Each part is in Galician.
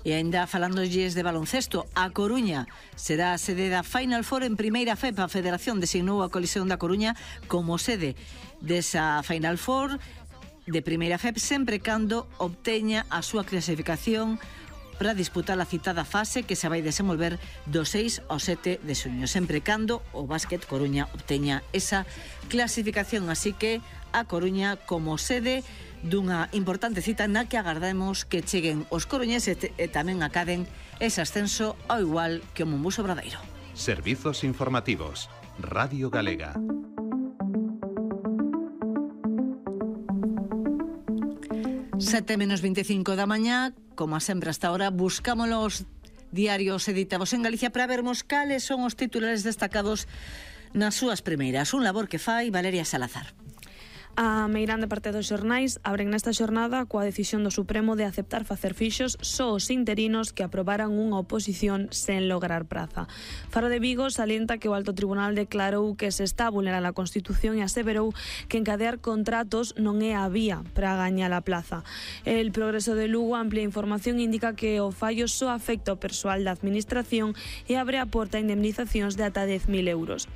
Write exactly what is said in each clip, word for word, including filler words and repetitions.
E ainda falándolles de baloncesto, a Coruña será a sede da Final Four en Primeira F E P. A Federación designou a Colisión da Coruña como sede desa Final Four de Primeira F E P sempre cando obteña a súa clasificación para disputar a citada fase que se vai desenvolver do seis ao sete de xuño, sempre cando o Básquet Coruña obteña esa clasificación. Así que a Coruña como sede dunha importante cita na que agardamos que cheguen os coruñeses e tamén acaden ese ascenso ao igual que o Monbuso Obradoiro. Servizos informativos, Radio Galega. Sete menos veinticinco da mañá, como sempre hasta ahora, buscamos os diarios editados en Galicia para vermos cales son os titulares destacados nas súas primeiras. Un labor que fai Valeria Salazar. A meirande parte dos xornais abren nesta xornada coa decisión do Supremo de aceptar facer fixos só os interinos que aprobaran unha oposición sen lograr praza. Faro de Vigo salienta que o Alto Tribunal declarou que se está a vulnerar a Constitución e aseverou que encadear contratos non é a vía para gañar a plaza. El Progreso de Lugo amplia información indica que o fallo só afecta o persoal da Administración e abre a porta a indemnizacións de ata dez mil euros.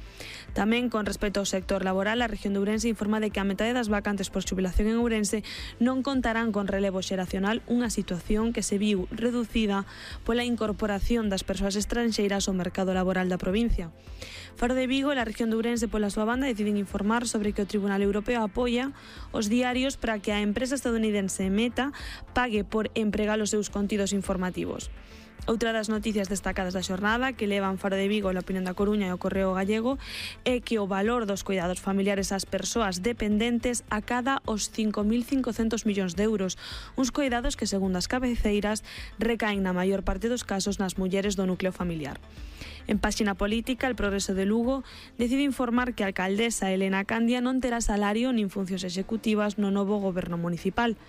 Tamén, con respecto ao sector laboral, a región de Ourense informa de que a metade das vacantes por xubilación en Ourense non contarán con relevo xeracional, unha situación que se viu reducida pola incorporación das persoas estranxeiras ao mercado laboral da provincia. Faro de Vigo e a región de Ourense, pola súa banda, deciden informar sobre que o Tribunal Europeo apoia os diarios para que a empresa estadounidense Meta pague por empregar os seus contidos informativos. Outra das noticias destacadas da xornada que levan Faro de Vigo, a Opinión da Coruña e o Correo Gallego é que o valor dos cuidados familiares ás persoas dependentes acada os cinco mil cincocentos millóns de euros, uns cuidados que, segundo as cabeceiras, recaen na maior parte dos casos nas mulleres do núcleo familiar. En páxina política, el Progreso de Lugo decide informar que a alcaldesa Elena Candia non terá salario nin funcións executivas no novo goberno municipal.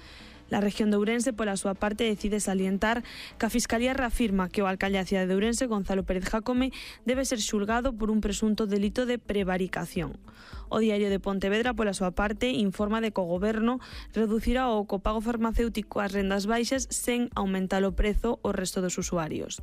La región de Ourense, pola súa parte, decide salientar que a Fiscalía reafirma que o alcalde da cidade de Ourense, Gonzalo Pérez Jácome, debe ser xulgado por un presunto delito de prevaricación. O Diario de Pontevedra, pola súa parte, informa de que o goberno reducirá o copago farmacéutico ás rendas baixas sen aumentar o prezo ao resto dos usuarios.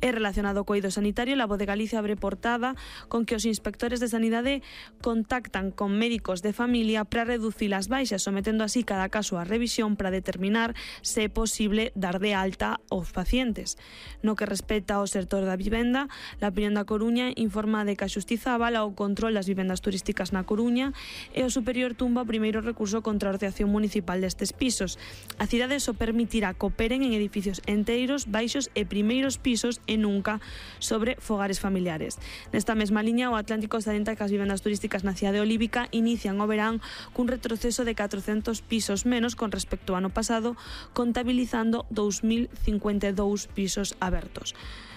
É relacionado co eido sanitario, La Voz de Galicia abre portada con que os inspectores de sanidade contactan con médicos de familia para reducir as baixas, sometendo así cada caso á revisión para determinar se é posible dar de alta aos pacientes. No que respecta ao sector da vivenda, La Opinión da Coruña informa de que a Xustiza avala o control das vivendas turísticas na Coruña e o Superior tumba o primeiro recurso contra a ordeación municipal destes pisos. A cidade só permitirá que operen en edificios enteiros, baixos e primeiros pisos e nunca sobre fogares familiares. Nesta mesma liña, o Atlántico salienta que as vivendas turísticas na cidade olívica inician o verán cun retroceso de catrocentos pisos menos con respecto ao ano pasado, contabilizando dous mil cincuenta e dous pisos abertos.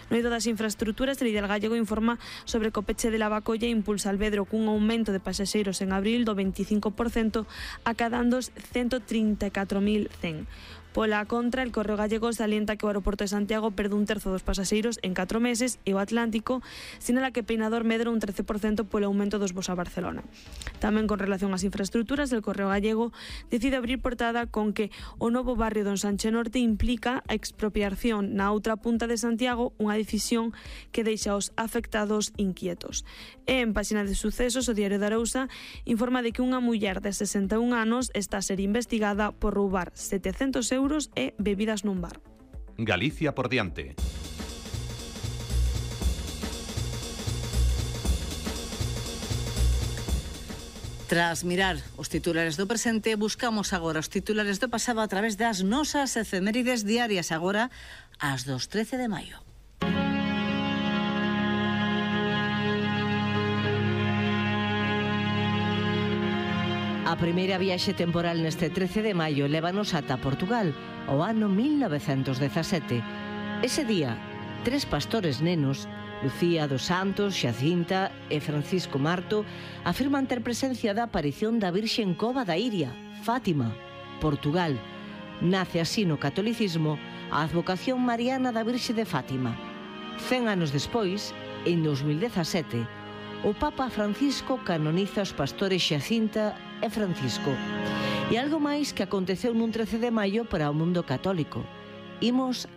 No eido das infraestructuras, el Ideal Gallego informa sobre que o peche de Lavacolla impulsa Alvedro cun aumento de pasaxeiros en abril do veinticinco por cento, acadando os ciento trinta e catro mil cen. Pola contra, el Correo Gallego salienta que o aeroporto de Santiago perde un terzo dos pasaxeiros en catro meses e o Atlántico sinala que Peinador medra un trece por cento polo aumento dos voos a Barcelona. Tamén con relación ás infraestructuras, el Correo Gallego decide abrir portada con que o novo barrio do Ensanche Norte implica a expropiación na outra punta de Santiago, unha decisión que deixa os afectados inquietos. E en páxina de sucesos, o Diario de Arousa informa de que unha muller de sesenta e un anos está a ser investigada por roubar setecentos euros e bebidas nun bar. Galicia por diante. Tras mirar os titulares do presente, buscamos agora os titulares do pasado a través das nosas efemérides diarias, agora ás dos trece de maio. A primeira viaxe temporal neste trece de maio lévanos ata Portugal, ao ano mil novecentos dezasete. Ese día, tres pastores nenos, Lucía dos Santos, Xacinta e Francisco Marto, afirman ter presencia da aparición da Virxe en Cova da Iria, Fátima, Portugal. Nace así no catolicismo a advocación mariana da Virxe de Fátima. Cen anos despois, en dos mil dezasete, o Papa Francisco canoniza os pastores Xacinta e Francisco. E algo máis que aconteceu nun trece de maio para o mundo católico. Imos